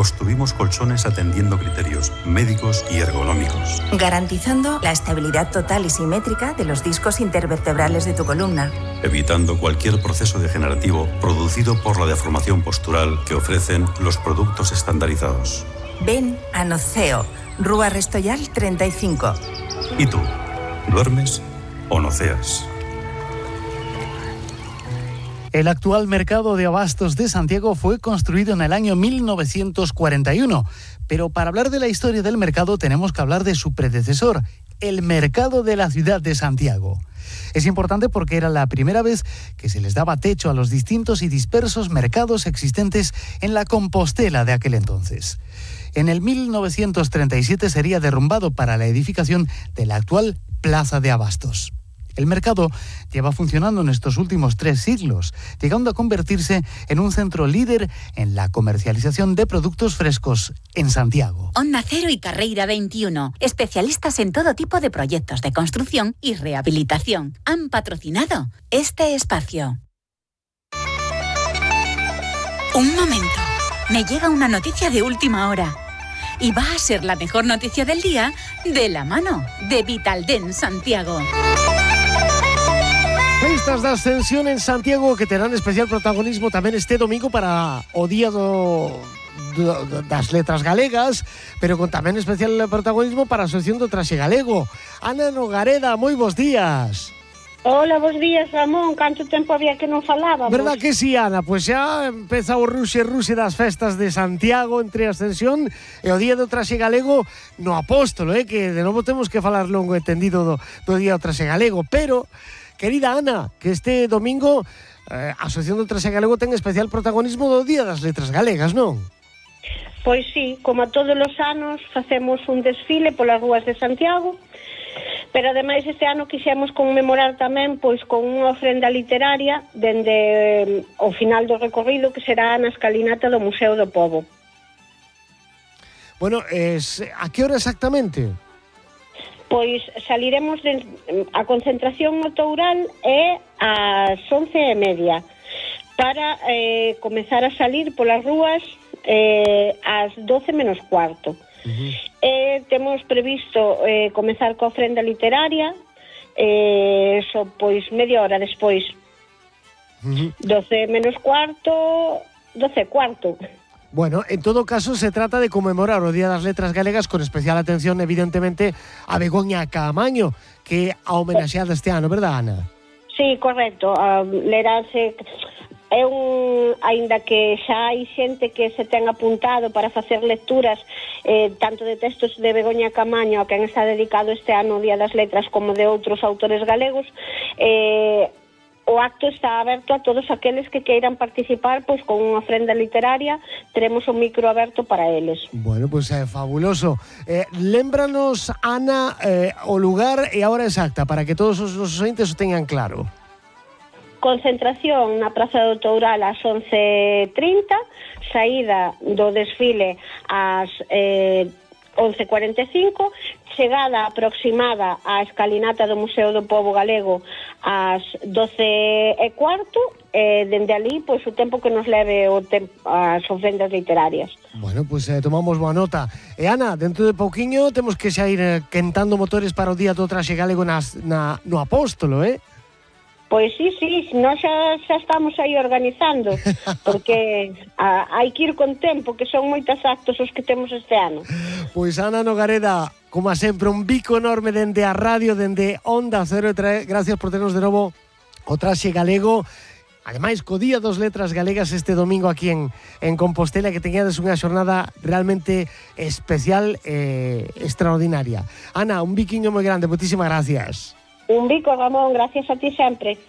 construimos colchones atendiendo criterios médicos y ergonómicos, garantizando la estabilidad total y simétrica de los discos intervertebrales de tu columna, evitando cualquier proceso degenerativo producido por la deformación postural que ofrecen los productos estandarizados. Ven a Noceo, Rúa Restoyal 35. ¿Y tú? ¿Duermes o noceas? El actual mercado de abastos de Santiago fue construido en el año 1941, pero para hablar de la historia del mercado tenemos que hablar de su predecesor, el mercado de la ciudad de Santiago. Es importante porque era la primera vez que se les daba techo a los distintos y dispersos mercados existentes en la Compostela de aquel entonces. En el 1937 sería derrumbado para la edificación de la actual Plaza de Abastos. El mercado lleva funcionando en estos últimos 3 siglos, llegando a convertirse en un centro líder en la comercialización de productos frescos en Santiago. Onda Cero y Carreira 21, especialistas en todo tipo de proyectos de construcción y rehabilitación, han patrocinado este espacio. Un momento, me llega una noticia de última hora. Y va a ser la mejor noticia del día de la mano de Vitaldent Santiago. Festas da Ascensión en Santiago que terán especial protagonismo tamén este domingo para o Día das Letras Galegas, pero con tamén especial protagonismo para a Asociación do Traxe Galego. Ana Nogareda, moi bons días. Hola, bons días, Ramón. Canto tempo había que non falábamos? Verdad que sí, Ana? Pois xa empeza o ruxe das festas de Santiago entre a Ascensión e o Día do Traxe Galego no Apóstolo, que de novo temos que falar longo e tendido do Día do Traxe Galego, pero... Querida Ana, que este domingo a Asociación do Traxe Galego ten especial protagonismo do Día das Letras Galegas, non? Pois sí, como a todos os anos facemos un desfile polas rúas de Santiago, pero ademais este ano quixemos conmemorar tamén pois con unha ofrenda literaria dende o final do recorrido que será na escalinata do Museo do Pobo. Bueno, a que hora exactamente? Pois saliremos a concentración no Toural é ás 11:30 para comezar a salir polas rúas ás 12 menos cuarto. Temos previsto comezar coa ofrenda literaria pois media hora despois. 12 menos cuarto, 12 cuarto. Bueno, en todo caso se trata de conmemorar o Día das Letras Galegas con especial atención, evidentemente, a Begoña Caamaño, que a homenaxeada este ano, verdad, Ana? Sí, correcto. Lerase é aínda que xa hai xente que se ten apuntado para facer lecturas tanto de textos de Begoña Caamaño, a quen está dedicado este ano o Día das Letras, como de outros autores galegos, o acto está aberto a todos aqueles que queiran participar, pois con unha ofrenda literaria, teremos un micro aberto para eles. Bueno, pois é fabuloso. Lémbranos, Ana, o lugar e a hora exacta, para que todos os ointes o tengan claro. Concentración na Praza do Toural ás 11:30, saída do desfile ás 11:45, chegada aproximada á escalinata do Museo do Pobo Galego ás 12:15, dende ali, pois o tempo que nos leve as ofrendas literarias. Bueno, pois tomamos boa nota. E Ana, dentro de pouquiño temos que xa ir quentando motores para o Día do Traxe Galego no Apóstolo, Pois sí, nós xa estamos aí organizando, porque hai que ir con tempo, que son moitos actos os que temos este ano. Pois Ana Nogareda, como sempre, un bico enorme dende a radio, dende Onda Cero, gracias por ternos de novo o Traxe Galego. Ademais, co Día dos Letras Galegas este domingo aquí en Compostela, que teñades unha xornada realmente especial e extraordinaria. Ana, un biquiño moi grande, moitísimas gracias. Un bico, Ramón, gracias a ti sempre.